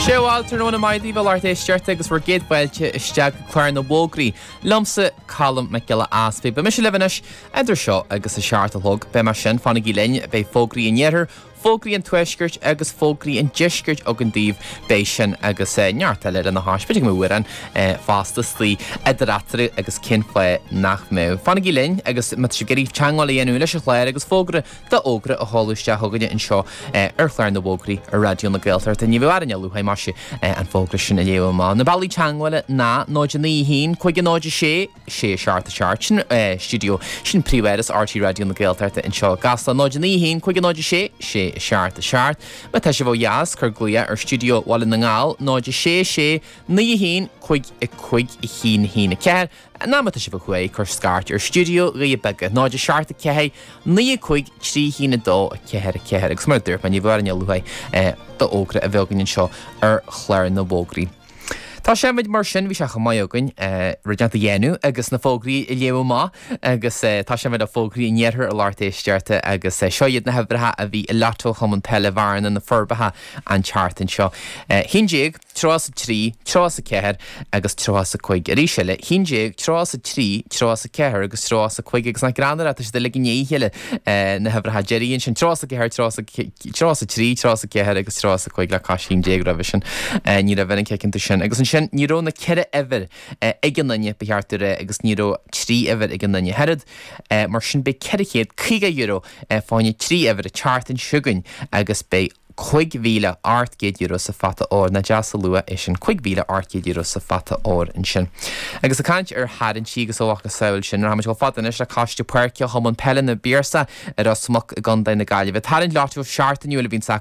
Sé bhail tráthnóna maith daoibh a lucht éisteachta agus bhur gcéad fáilte isteach go Clár na bhFógraí liomsa, Colm Mac Giolla Easpaig. Beidh mise libh anois idir seo agus a 7 a chlog. Beidh mé sin, fanaigí linn, beidh fógraí an iarthair, fógraí an tuaiscirt agus fógraí an deiscirt againn daoibh. Beidh sin agus neart eile lena chois. B'fhéidir go mbeidh amhrán fosta istigh idir eatarthu agus cén fáth nach mbeadh. Fanaigí linn agus má tá sibh ag iarraidh teagmháil a dhéanamh leis an chlár agus fógra d'fhógra a sheoladh isteach chugainne anseo ar chlár na bhfógraí ar Raidió na Gaeltachta. Ní bheadh orainn a luaithe, maise, an fógra sin a léamh amach. Na bealaí teagmhála ná 0 9 1 5 0 6 6 7 7, sin stiúideo, sin príomháras RTÉ Raidió na Gaeltachta anseo i gCasla, 0 9 1 5 0 6 6 7 7. Má tá sibh ó dheas, cuir glaoch ar stiúideo Bhaile na nGall, 0 6 6 9 1 5 5 1 1 4. Nó má tá sibh ó thuaidh, cuir scairt ar stiúideo Dhoirí Beaga, 0 7 4 9 5 3 1 2 4 4 agus mar a dúirt mé, ní bheadh orainn a luaithe d'fhógra a bheith againn anseo ar chlár na bhfógraí. Tosóimid mar sin, bhí sé chomh maith againn rud inteacht a dhéanamh agus na fógraí a léamh amach agus tosóimid le fógraí an iarthair a lucht éisteachta agus seo iad na huimhreacha a bhí i Lotto Chumann Peile Bhearna na Forbacha an tseachtain seo. 11. 33, 34 agus 35. Arís eile, 11, 33, 34 agus 35 agus nach greannmhar é, tá siad uilig i ndiaidh a chéile, na huimhreacha deiridh ansin, 34, 33, 34 agus 35 le cois 11 roimhe sin. Ní raibh aon chic iontu sin. Agus ansin, ní raibh na ceithre uimhir ag an duine, ba cheart a rá, agus ní raibh trí uimhir ag an duine oiread. Mar sin, beidh €450 fá choinne trí uimhir an tseachtain seo chugainn agus beidh €5,800 sa phota óir. Nach deas an lua é sin, €5,800 sa phota óir ansin. Agus ag caint ar tharraingtí agus a mhacasamhail sin, rachaimid chomh fada anois le Coiste Páirce Chumann Peile na bPiarsach i Ros Muc i gContae na Gaillimhe. Tarraingt Lotto seachtainiúil a bhíonns acu.